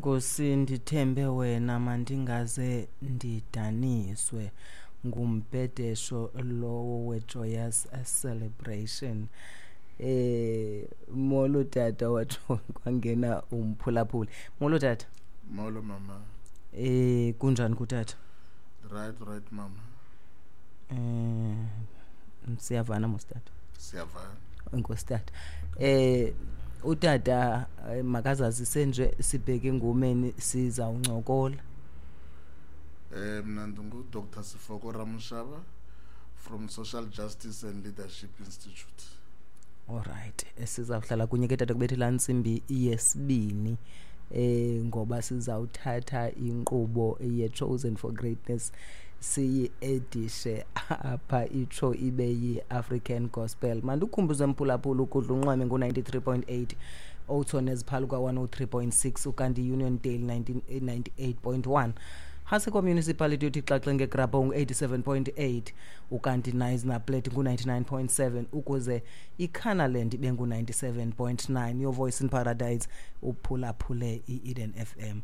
Nkosi, ndithembe wena, mandingaze ndidaniswe. Ngumbhedesho lowo we-Joyous Celebration. Molo tata, watsho kwangena umphulaphuli. Molo tata. Molo mama. Kunjani kutata? Right mama. Siyavana mos tata? Siyavana. Enkosi tata. Utata makazazise nje, sibheke engomeni, sizawuncokola. Mna ndingu Dr. Sefoko Ramoshaba from Social Justice and Leadership Institute. Alright, sizawuhlala kunye ke tata kubethela ntsimbi yesibini. Ngoba sizawuthatha inkqubo ye-Chosen for Greatness siyi-edishe apha itsho ibe yi-African Gospel. Mandikhumbuze mphulaphula, ukudla unxweme ngo-93.8, Oudtshoorn neziphaluka 103.6, ukanti Uniondale 98.1, Hasico Municipality uthi xaxe ngegrabho ngu-87.8, ukanti Knysna-Plet ngu-99.7, ukuze iCannerland ibe ngu-97.9. Your Voice in Paradise, uphulaphule i-Eden FM.